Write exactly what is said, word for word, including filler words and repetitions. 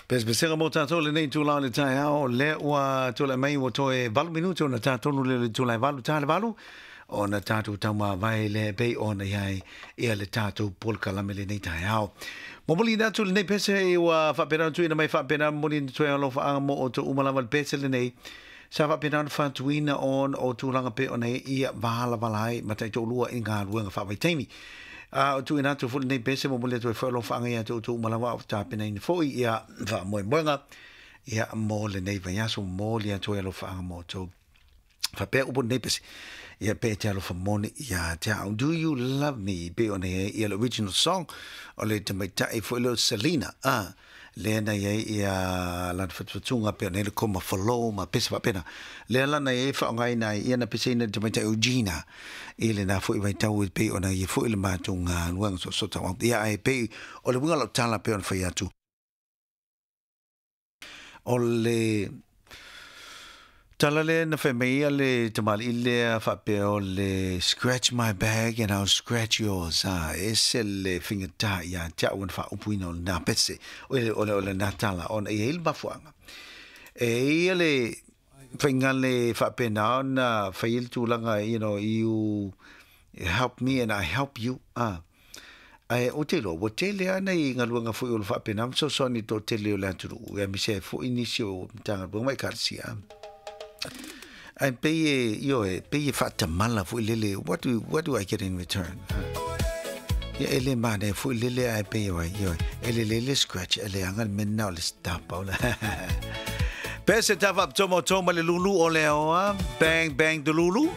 Pesepesega mo tātou lenei itula o le taeao, lea ua tulai mai ua toe valu minute ona tatonu le le itula e valu ta le valu, ona tātou taumavae lea e pei ona i ai ia le tātou polokalame lenei taeao. Momoli atu lenei pese ua faapena ona tuuina mai faapena momoli atu ai alofaaga mo outou uma lava le pese lenei. Sa faapena ona fatuina ona o tulaga pei ona ia valavala ai ma taitoalua i galuega faavaitaimi. A o tuuina atu foi lenei pese momoli atu ai foi alofaaga ia te outou uma lava o tapenaina foi ia faamoemoega ia mo lenei vaiaso momoli atu ai alofaaga mo outou. Faapea upu lenei pese ia pe te alofa moni ia te au. Do you love me? Pe ona ia ia le original song o le tamaitai foi leo Selena. Ah, lea na iai ia lana fatufatuga pe ona le koma falo ma pese faapena. Lea lana iai faaaogaina ai ia na peseina le tamaitai o Gina i lena foi vaitau e pei ona ia foi le matou galuega soosoo ia ai pei o le uiga o lau tala pe ona fai atu. O le tala lea na fai mai ia le tamalii lea faapea o le scratch my back and I'll scratch yours. Ah, e se le faigata ia te au ona faaupuina o lena pese o le, o le, o lena tala ona e i ai le mafuaaga. E ia le faiga le faapena ona fai ai le tulaga, you know, you help me and I help you. Ah. Ae ou te iloa, ua tele lava nai galuega foi o le faapena ma fesoasoani i le toatele o le atunuu, aemaise ai foi nisi o Matagaluega ma Ekalesia. Ae pei e, ioe, pei e faatamala foi lele, what do, what do I get in return? Ia e le manaia foi lele ae pei o ai, ioe, e lelei le scratch, e leaga le mea lena o le stop o le. Pese tafa tomo toma le lulu o le oa, bang bang the lulu.